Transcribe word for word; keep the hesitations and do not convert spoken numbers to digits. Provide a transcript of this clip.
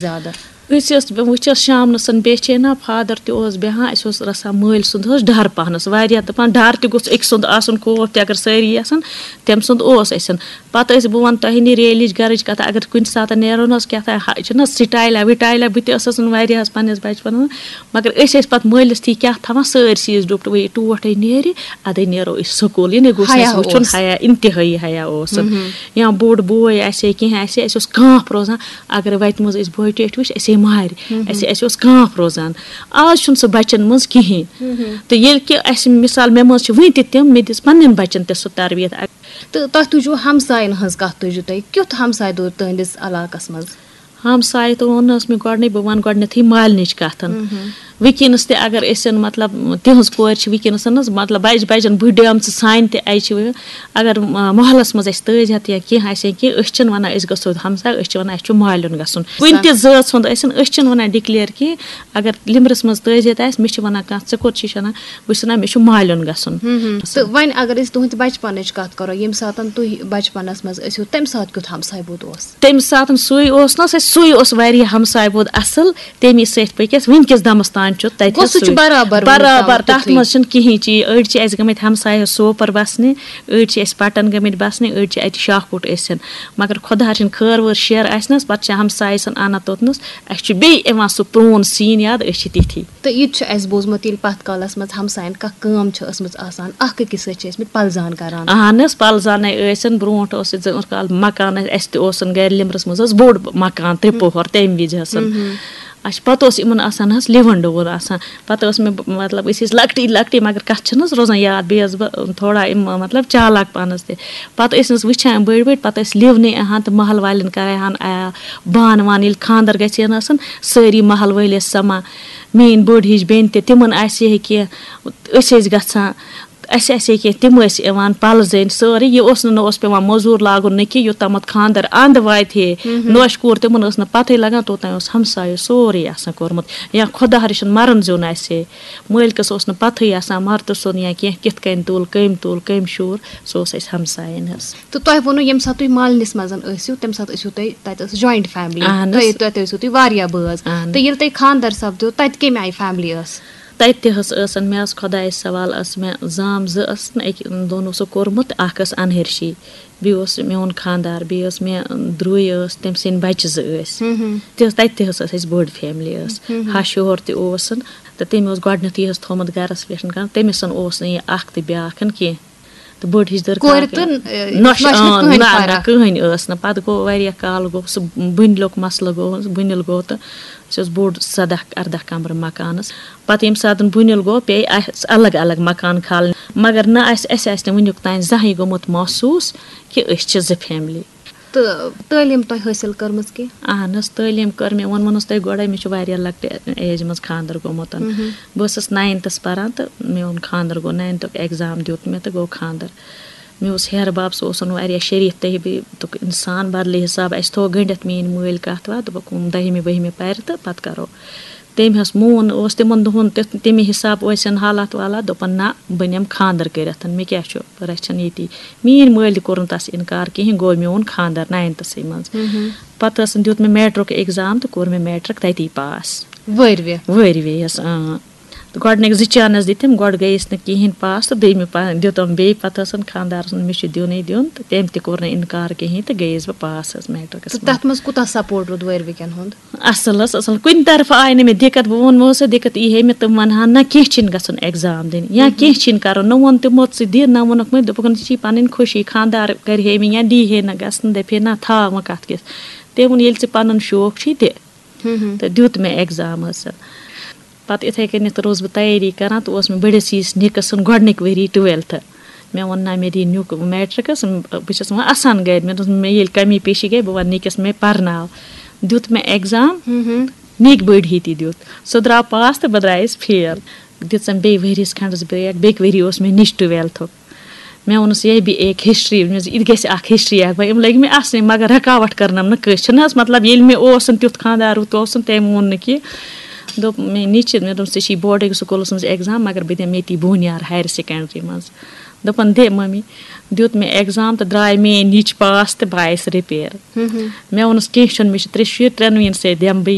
زیادٕ؟ أسۍ ٲسۍ، بہٕ وٕچھس شامنَسَن بیٚچھے نا، فادر تہِ اوس بیٚہان، اَسہِ اوس رَژھا مٲلۍ سُنٛد حظ ڈَر پَہنَس واریاہ، دَپان ڈَر تہِ گوٚژھ أکۍ سُنٛد آسُن، خوف تہِ اگر سٲری آسَن، تٔمۍ سُنٛد اوس اَسٮ۪ن۔ پَتہٕ ٲسۍ، بہٕ وَنہٕ تۄہہِ نِش ریلِچ گَرٕچ کَتھا، اگر کُنہِ ساتہٕ نیرو نہ حظ کیٛاہ تام، ہا، چھِنہ سٹایلا وٹایلا، بہٕ تہِ ٲسٕس نہٕ واریاہَس پنٛنِس بَچپَنَس منٛز، مگر أسۍ ٲسۍ پَتہٕ مٲلِس تھی کیٛاہ تھاوان، سٲرسٕے ٲسۍ ڈُپٹہٕ، وۄنۍ یہِ ٹوٹھ ہے نیرِ، اَدَے نیرو أسۍ سکوٗل، یعنی گوٚژھ نہٕ حیا اَسہِ وٕچھُن اوس۔ حیا، اِنتِہٲیی حیا اوس۔ مہم۔ یا بوٚڑ بوے آسہِ ہے، کینٛہہ آسہِ ہے، اَسہِ اوس کانٛپھ روزان، اگر وَتہِ منٛز أسۍ بٲے ٹیٹھۍ وٕچھ، اَسہِ ہے مارِ، مہم۔ اَسہِ، اَسہِ اوس کانٛپھ روزان۔ آز چھُنہٕ سُہ بَچَن منٛز کِہیٖنۍ۔ مہم۔ تہٕ ییٚلہِ کہِ اَسہِ مِثال مےٚ منٛز چھِ وٕنہِ تہِ تِم، مےٚ دِژ پنٛنٮ۪ن بَچَن تہِ سُہ تربیت۔ تہٕ تۄہہِ تُجوٕ ہمساین ہٕنٛز کتھ، تُجوٕ تۄہہِ؟ کیُتھ ہمساے دوٗر تُہنٛدِس علاقس منٛز؟ ہمساے تہٕ ووٚن نہ حظ مےٚ گۄڈٕنی، بہٕ وَنہٕ گۄڈٕنٮ۪تھٕے مالنٕچ کتھ۔ مہم۔ وٕنکیٚنس تہِ اگر أسۍ، مطلب، تِہنٛز کورِ چھِ وٕنکیٚنس نہ حظ، مطلب، بجہِ بجن بٕڈ ڈیمژٕ سانہِ تہِ اَجہِ چھِ، اگر، م-، محلس منٛز اَسہِ تٲج ہٮ۪تھ یا کینٛہہ آسہِ یا کینٛہہ، أسۍ چھِنہٕ وَنان أسۍ گژھو ہمساے، أسۍ چھِ وَنان اَسہِ چھُ مالیُن گژھُن۔ کُنہِ تہِ زٲژ ہُنٛد ٲسِن، أسۍ چھِنہٕ وَنان ڈِکلیئر کینٛہہ۔ اگر لِمرِس منٛز تٲج ہٮ۪تھ آسہِ، مےٚ چھِ وَنان کانٛہہ، ژٕ کوٚت چھِ وَنان؟ بہٕ چھُس وَنان، مےٚ چھُ مالیُن گژھُن۔ ہم، ہم۔ تہٕ وۄنۍ اگر أسۍ تُہٕنٛدِ بچپنٕچ کتھ کرو، ییٚمہِ ساتہٕ تُہۍ بچپنس منٛز ٲسِو، تمہِ ساتہٕ کیُتھ ہمساے بود اوس؟ تَمہِ ساتہٕ سُے اوس نہ، سُے، سُے اوس واریاہ ہمساے بود اصل۔ تَمی سۭتۍ پٔکۍ أسۍ وٕنکیٚس دمس تام چھُ تتہِ گوٚو، حظ سُہ چھُ سُے۔ برابر وُنیُک برابر، تامَتھ تَتھ تیُتھُے۔ منٛز چھُنہٕ کِہیٖنۍ چی۔ أڑۍ چھِ اَسہِ گٔمٕتۍ ہمسایہِ سوپور بسنہِ، أڑۍ چھِ اَسہِ پٹن گٔمٕتۍ بسنہِ، أڑۍ چھِ اَتہِ شاہ کوٹ ٲسِن۔ مگر خۄدا رٔچھِن، خٲر وٲر شیر آسہِ نہ حظ، پتہٕ چھِ ہمسایہِ سُنٛد اَنان توٚتنَس۔ اَسہِ چھُ بیٚیہِ یِوان سُہ پرٛون سیٖن یاد، أسۍ چھِ تِتھی۔ تہٕ یہِ تہِ چھُ اَسہِ بوٗزمُت، ییٚلہِ پَتھ کالَس منٛز ہمسایَن کانٛہہ کٲم چھِ ٲسمٕژ آسان، اَکھ أکِس سۭتۍ چھِ ٲسمٕتۍ پَلزان کَران۔ اَہن حظ، پَلزانَے ٲسِن۔ برونٛٹھ اوس یہِ زٕ کال مکان، اَسہِ تہِ اوسُن گَرِ لِمرَس منٛز حظ بوٚڑ مکان، ترٛےٚ پوٚہَر تَمہِ وِزِ حظ۔ پَتہٕ اوس یِمَن آسان حظ لِوَن ڈوٗر آسان۔ پَتہٕ ٲس مےٚ، مطلب، أسۍ ٲسۍ لۄکٹی لۄکٹی، مگر کَتھ چھِنہٕ حظ روزان یاد۔ بیٚیہِ ٲسٕس بہٕ تھوڑا یِم، مطلب، چالاک پانَس تہِ۔ پَتہٕ ٲسۍ نہٕ حظ وٕچھان بٔڑۍ بٔڑۍ، پَتہٕ ٲسۍ لِونٕے اَہَن تہٕ محلہٕ والٮ۪ن کَران آیا بانہٕ وانہٕ۔ ییٚلہِ خانٛدَر گژھِ ہا نہ آسان، سٲری محلہٕ وٲلۍ ٲسۍ سَمان۔ میٛٲنۍ بٔڑ ہِش بیٚنہِ تہِ، تِمَن آسہِ ہے کینٛہہ، أسۍ ٲسۍ گژھان، اَسہِ آسہِ ہے کینٛہہ، تِم ٲسۍ یِوان پَلزٕنۍ سٲرٕے۔ یہِ اوس نہٕ، نہ اوس پٮ۪وان مٔزوٗر لاگُن نہ کینٛہہ، یوٚتامَتھ خانٛدَر اَنٛد واتہِ ہے۔ نوشہِ کوٗر، تِمَن ٲس نہٕ پَتہٕے لَگان، توٚتام اوس ہمسایو سورُے آسان کوٚرمُت۔ یا خۄدا رٔچھِن مَرَن زیُن آسہِ ہے، مٲلکَس اوس نہٕ پَتہٕے آسان مَرتہٕ سیُن یا کینٛہہ کِتھ کٔنۍ تُل، کٔمۍ تُل، کٔمۍ شوٗر، سُہ اوس اَسہِ ہمسایَن حظ۔ تہٕ تۄہہِ ووٚنوُ ییٚمہِ ساتہٕ تُہۍ مالنِس منٛز ٲسِو، تَمہِ ساتہٕ ٲسِو تُہۍ، تَتہِ ٲس joint family۔ اَہَن حظ۔ تۄہہِ، تۄہہِ، تۄہہِ ٲسِو تُہۍ واریاہ بٲژ۔ اَہَن۔ تہٕ ییٚلہِ تۄہہِ خانٛدَر سَپدیو، تَتہِ کَمہِ آیہِ family ٲس؟ تَتہِ تہِ حظ ٲسَن، مےٚ حظ خۄدایَس سوال، ٲس مےٚ زام زٕ ٲسَن، أکۍ دۄن اوسُکھ کوٚرمُت، اَکھ ٲس اَنہرشی، بیٚیہِ اوس میون خانٛدار، بیٚیہِ ٲس مےٚ درٛوے ٲس، تٔمۍ سٕنٛدۍ بَچہِ زٕ ٲسۍ۔ تہِ حظ، تَتہِ تہِ حظ ٲس اَسہِ بٔڑ family ٲس۔ ہَش ہیوٚہَر تہِ اوسُن، تہٕ تٔمۍ اوس گۄڈٕنیتھٕے حظ تھوٚومُت گَرَس پٮ۪ٹھ کَرُن، تٔمِس اوس نہٕ یہِ اَکھ تہِ بیٛاکھ کینٛہہ۔ تہٕ بٔڑ ہِش دٔر کورِ کاکَن۔ تہٕ، اَ، نۄش، نۄشہِ نہٕ اۭں، کٕہٕنۍ نہ، نہ، فرق۔ کٕہٕنۍ ٲس نہٕ۔ پَتہٕ گوٚو واریاہ کال، گوٚو سُہ بٕنِلُک مسلہٕ، گوٚو بٕنِل گوٚو تہٕ اَسہِ اوس بوٚڑ سَداہ اَرداہ کَمرٕ مکانَس۔ پَتہٕ ییٚمہِ ساتہٕ بٕنِل گوٚو، پیٚیہِ اَسہِ الگ الگ مکان کھالٕنۍ۔ مگر نہ اَسہِ، اَسہِ آسہِ نہٕ وٕنیُک تام زانٛہہ یہِ گوٚمُت محسوٗس کہِ أسۍ چھِ زٕ family۔ تہٕ تعلیٖم تۄہہِ حٲصِل کٔرمٕژ کینٛہہ؟ اہن حظ، تعلیٖم کٔر مےٚ، ووٚنمو نہ حظ تۄہہِ گۄڈے، مےٚ چھُ واریاہ لۄکٹہِ ایجہِ منٛز خانٛدر گوٚمُت۔ بہٕ ٲسٕس ناینتھس پران تہٕ میون خانٛدر گوٚو، ناینتھُک exam دیُت مےٚ تہٕ گوٚو خانٛدر۔ مےٚ اوس ہیرٕ بب، سُہ اوسُن واریاہ شریٖف تہبیتُک انسان، بدلہِ حساب اَسہِ تھوٚو گٔنڈِتھ میٛٲنۍ مٲلۍ کتھ وتھ، دوٚپُکھ، دٔہمہِ بٔہمہِ پرِ تہٕ پتہٕ کرو۔ تٔمۍ حظ مون، اوس تِمن دۄہن تہِ تَمی حساب ٲسِن حالات والات، دوٚپُن، نہ، بہٕ نِمہٕ خانٛدر کٔرِتھ، مےٚ کیٛاہ چھُ، رَچھَن ییٚتی۔ میٛٲنۍ مٲلۍ تہِ کوٚر نہٕ تَس اِنکار کِہیٖنۍ، گوٚو میون خانٛدر ناینتھسٕے منٛز۔ پَتہٕ ٲسٕن دیُت مےٚ میٹرک exam تہٕ کوٚر مےٚ میٹرک تَتی pass۔ وٲرۍوِ؟ وٲرۍوِ حظ، اۭں۔ تہٕ گۄڈٕنِکۍ زٕ chance دِتِم، گۄڈٕ گٔیَس نہٕ کِہیٖنۍ pass تہٕ دوٚیمہِ پا-، دیُتُم بیٚیہِ، پَتہٕ ٲسٕن خانٛدارَس ووٚن، مےٚ چھُ دیُنٕے دیُن، تہٕ تٔمۍ تہِ کوٚر نہٕ اِنکار کِہیٖنۍ تہٕ گٔیَس بہٕ pass حظ میٹرکَس تہٕ منٛز۔ تَتھ منٛز کوٗتاہ support روٗد وٲرۍوِ کٮ۪ن ہُنٛد؟ اَصٕل حظ، اَصٕل۔ کُنہِ طرفہٕ آیہِ نہٕ مےٚ دِقت۔ بہٕ ووٚنمو سا دِقت یی ہے مےٚ، تِم وَنہٕ ہَن نہ کینٛہہ چھِنہٕ گژھُن exam دِنہِ یا کینٛہہ چھِنہٕ کَرُن۔ نہ ووٚن تِمو ژٕ دِ، نہ ووٚنُکھ مےٚ، دوٚپُکھ نہ ژےٚ چھی پَنٕنۍ خوشی، خانٛدار کَرِ ہے مےٚ یا دی ہے نہ گژھنہٕ، دَپہِ ہے نہ تھاو وۄنۍ کَتھ کِژھ۔ تٔمۍ ووٚن ییٚلہِ ژےٚ پَنُن شوق چھُے دِ۔ تہٕ دیُت مےٚ exam حظ۔ پَتہٕ یِتھَے کٔنٮ۪تھ روٗزٕس بہٕ تیٲری کَران تہٕ اوس مےٚ بٔڑِس یِیِس نِکَس سُنٛد گۄڈٕنِکۍ ؤری twelfthہٕ۔ مےٚ ووٚن نہ مےٚ دی نیُک میٹرکَس، بہٕ چھَس وۄنۍ اَسان گَرِ۔ مےٚ دوٚپ مےٚ ییٚلہِ کمی پیشی گٔے بہٕ وَنہٕ نِکَس مےٚ پَرناو۔ دیُت مےٚ exam، نِکۍ بٔڑۍ ہی تہِ دیُت۔ سُہ درٛاو pass تہٕ بہٕ درٛایَس fail۔ دِژَم بیٚیہِ ؤریَس کھنٛڈَس break، بیٚکہِ ؤری اوس مےٚ نِچ twelfthُک۔ مےٚ ووٚنُس، "یہ بھی ایک history"، مےٚ دوٚپُس، "یہِ تہِ گژھِ اَکھ history اَکھ"۔ وۄنۍ یِم لٔگۍ مےٚ اَسنہِ، مگر رُکاوَٹھ کٔرنَم نہٕ کٲنٛسہِ۔ چھِنہٕ حظ، مطلب، ییٚلہِ مےٚ اوس تیُتھ خانٛدار، ہُتھ اوس، تٔمۍ ووٚن نہٕ کینٛہہ۔ دوٚپ مےٚ نِچہِ، مےٚ دوٚپُس، "ژےٚ چھی boardٕکۍ سکوٗلَس منٛز exam، مگر بہٕ دِمہٕ ییٚتی بونیار higher secondary منٛز۔" دوٚپُن، "دے مٔمی۔" دیُت مےٚ ایگزام تہٕ درٛاے میٛٲنۍ نِچ پاس تہٕ بہٕ آیَس رِپیر۔ مےٚ ووٚنُس، "کینٛہہ چھُنہٕ، مےٚ چھِ ترٛےٚ شُرۍ، ترٛٮ۪نوٕنی سۭتۍ دِمہٕ بہٕ